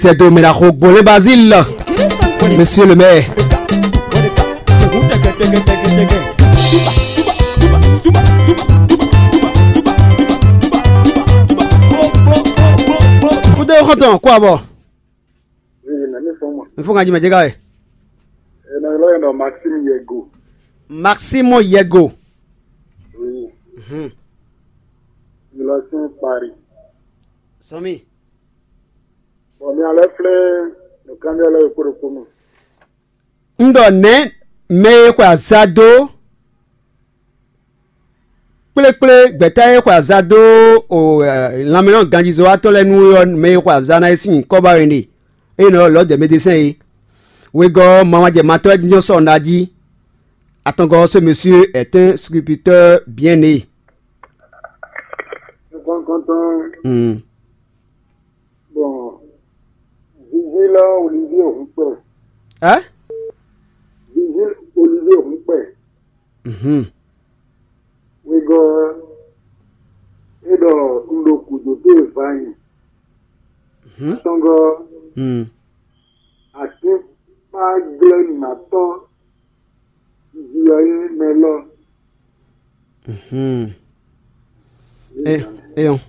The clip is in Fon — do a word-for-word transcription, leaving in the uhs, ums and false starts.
C'est dommage, Gbolé Basile, monsieur le maire. Kúdé xɔntɔn kó abɔ. N fún kan jimɛ jẹ́gá ẹ̀. Maximo Yego. Mhm. Sɔmi. Bɔ mi alɛ flɛ́ nǔkanbyɔ́ lɛ́ɛ ɖokpó ɖokpó mɛ. Un ɖɔ nɛ̌ mɛ e xwe azado kplékplé gbɛ̌ta e xwe azado o lanmɛnɔganjízɔ́watɔ́ lɛ́ɛ nu é ɔ́, mɛ e xwe aza ná é sín nyǐkɔ ba wɛ ɖe, ée nɔ lɔ̌ dɛ médesɛn é. Wegɔ́ ɔ́, mawajɛ matɔ́ wɛ nyɔ́ sɔ ná jí. Atɔngɔ́ ɔ́, ce monsieur est un sculpteur bien né. Kɔntɔn. Bon, Vigile Olivier Hukpɛ. Ɛ? Vigile Olivier Hukpɛ. Mhm. Wegɔ́ é ɖɔ un ɖo gǔdo dó e va nyi. Mhm. Atɔngɔ́. Mm. Atínkpáglɛ́númátɔ́ jí ɔ́ nyí mɛ lɔ. Mhm. Eyɔn.